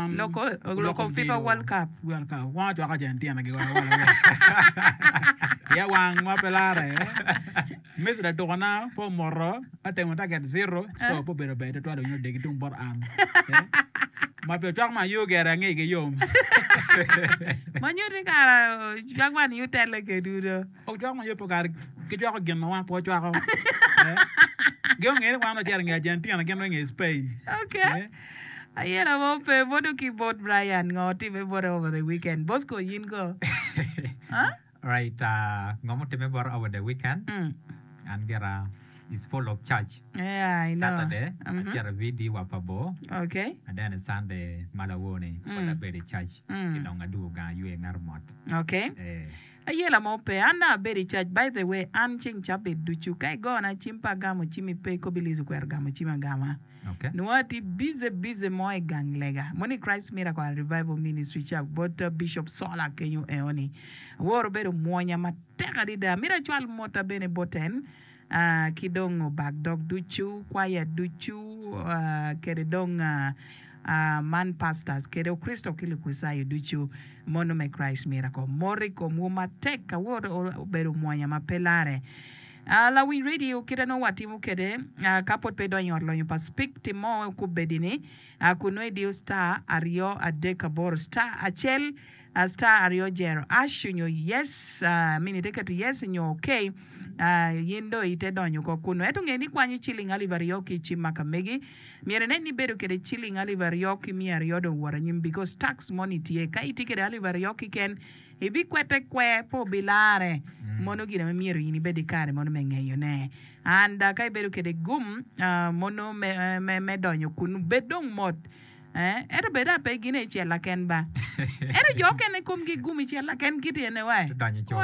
Wan Loko loko FIFA World Cup. World Cup. Wan ocwako Argentina gi wala wala. Ya wang ma pe lare. Messi latukona na pe omoto atemo target zero so pe obedo ber tutwal onyo degi tung bot an. Ma pi ocwak man yo gere ange igi yom. Ma nyuti kara ocwak man yu tele kedwu do. Ocwak man yo pe kare gicwako gin ma wan pe wacwako. Gin ongeyo ni wan wacito i nge Argentina gin wa i nge Spain. Okay. Ayela mo pe modo ki bot Brian ngo otime bote over the weekend. Bosco yin ko. Huh? Right, uh, ngo mutimme bota over the weekend? Mm. An gira is full of church. Yeah, I know. Saturday, Mhm. acito i VD wa pa bor. Okay. And then Sunday ma lawor ni, pud Mm. abedo i church. Mm. Ci dong adwogo gang aywe ngato mot. Okay. Eh. Ayela mo pe. An dong abedo i church. By the way, an ceng cabit ducu ka igona cim pe agamo cimmi pe kobi Liz okwero gamo cim agama. Okay. Nongo atye busy busy mo i gang lega mo ni Christ Miracle and Revival Ministry ca bot Bishop Sola kenyo eo ni. Awor obedo mwonya matek adada. Mito acwal motta bene bot en ki dong obak dog ducu, kwaya ducu kede dong man pastors kede Okricito ki Lukricitayo ducu mono me Christ Miracle. Mot i komwu matek. Awor obedo mwonya ma pe lare. Lawiny radio kite nongo watimo kede ka pwod pe idonyo i ot lonyo pa Spik tim mo kubedi ni kun nongo idiyo star aryo adek aboro star acel star aryo jero ash onyo yes I mean ite keto yes onyo ok in dong ite donyo oko kunu ento nge ni kwanyo ciling alip aryo ki icim ma ka megi myero inen ni ibedo kede ciling alip aryo ki miya aryo dong owot anyim because tax moni tye ka itye kede alip aryo kiken Ibikwete kwer, pe obilare. Mono gin ma myero in ibed ki kare mono me ngeyone. And ka ibedo kede gum mono me donyo kunu, bed dong mot. Ento bed a pe gine i cella ken ba. Ento jo okene komgi gum i cella ken gityene wa.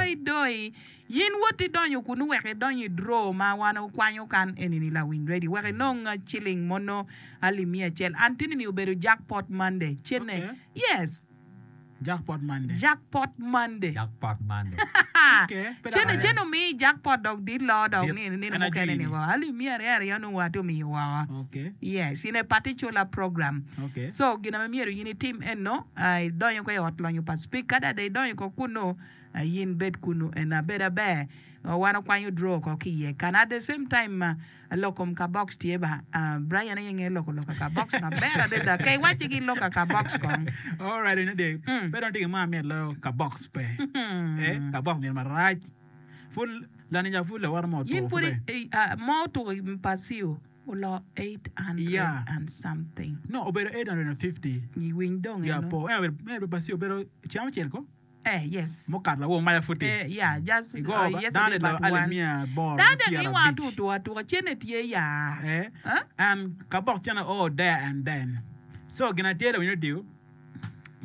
Oi doi, in wot idonyo kunu wek idony i draw ma wan okwanyo kan enini lawiny radio wek inong ciling mono alip miya acel. Antinini obedo jackpot Monday. Cene. Yes. Jackpot Monday. Jackpot Monday. Jackpot Monday. Okay, pe dok Cene aye. cene omiyi jackpot dok dit loo dok Dit. ni nino En mukene ajwi ni ni. woko. Alip miya aryo aryo nongo wa tye omiyo woko. Okay. Yes, in a particular program. Okay. So gin ma myero in itim eno, ah, idonyo ko i ot lonyo pa speaker, ka dada idonyo ko kunu, ah, in bed kunu eno abed aber. Wan okwanyo draw oko ki iye kan. At the same time, ah, Lok kom kabox tye ba. Brian aye ngeyo loko lok kabox maber adada. Ka iwacci ki lok kabox kong. Alright eno dek. Pe dong tye gin mo amit loyo kabox pe. Eh, kabox myero marac. Pud lanica pud lawote mo Yin otuko pud pud be. mo otuko i Pasio olo 800 Yeah. and something. No, obedo 850. Iwiny dong Yeah, eno. po. En obedo, en obedo Pasio obedo ceng acel ko. Eh, yes. Mukato lawor maca pud tye. Eh, yeah, just, Igo uh, ba, dano yesterday lilo but alip one. miya aboro Dano ki dong pyera iwa abic. tutu atuka cene tye ya. Eh, Huh? and ka bok cene oo there and then. So gin atye lawiny odiyo,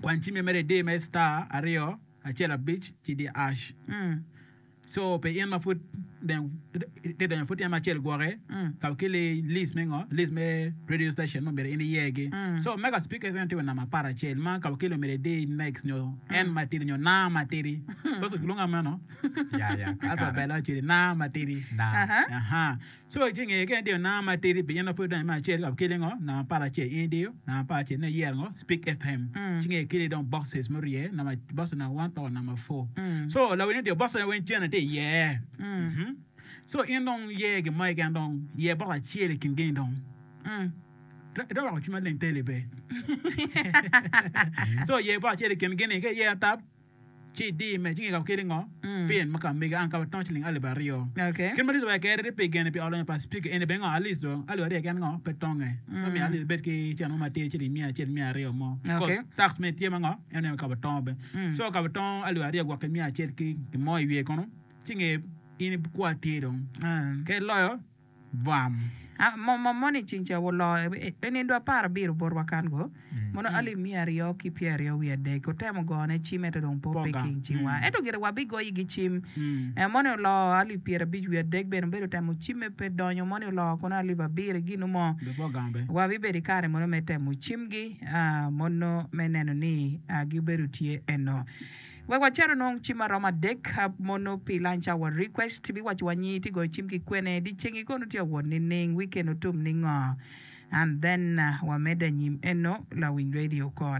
kwany cimmi mere idi me star aryo acel abic ci idi ash. Mm. So pi in ma pud dong itye donyo pud tyen me acel gwoki ka keli list me ngo list me radio station ma myero in iyer gi so mega speaker keken tye wa namba aparacel ma ka keli myero idi next nyo en matidi nyo na matidi because kilwongo meno Ya, ya, kakare. alphabet acel na matidi Na. Aha. Aha. So ci nge ka in idiyo namba matidi pi in ma pud idonyo me acel ka keli ngo namba aparacel in idiyo namba aparacel ne iyero ngo speak FM ci nge keli dong boxes murye namba box namba one paka namba four so lawiny odiyo box weng cene tye iye Mhm. so in dong yer gin mo keken dong yer box acel i kin gini dong Itwero weko cwiny maleng teli pe so yer box acel i kin gini ka iyero tap ci idi me ci nge ka keli ngo pin ma ka mege an ka tongo ciling alip aryo Okay. kit ma Liz owaco kede pi gene pi ot lonyo pa speaker eni bene ngo at least dong alip aryo keken ngo pe tonge ma miyo at least ibed ki cen mo matidi ciling miya acel miya aryo mo Okay. cause tax me tye ma ngo en aye ka tongo bene so ka tongo alip aryo gwok ki miya acel ki mo i wiye kunu ci nge in ikwa tye dong ka iloyo Bwam. Mo moni ceng ca oloo i nindo aparabiro botwa kan go, mono alip miya aryo ki pyeraryo wiye adek. Otemo gone cim ento dong pe ope ki i cimwa. Ento gire wabigoyigi cim. Moni oloo alip pyerabic wiye adek bene obedo temo cimme pe donyo. Moni oloo kono alip abiro i ginu mo. Wabibedo i kare mono me temo cimgi mono me neno ni gibedo tye eno. Wek wacer onong cim maromo adek mono pi lunch hour request biwaco wa nyi iti goyo cim ki kwene di cengi kono tye awot nining weekend otum ningo and then wamede anyim eno lawiny radio kore.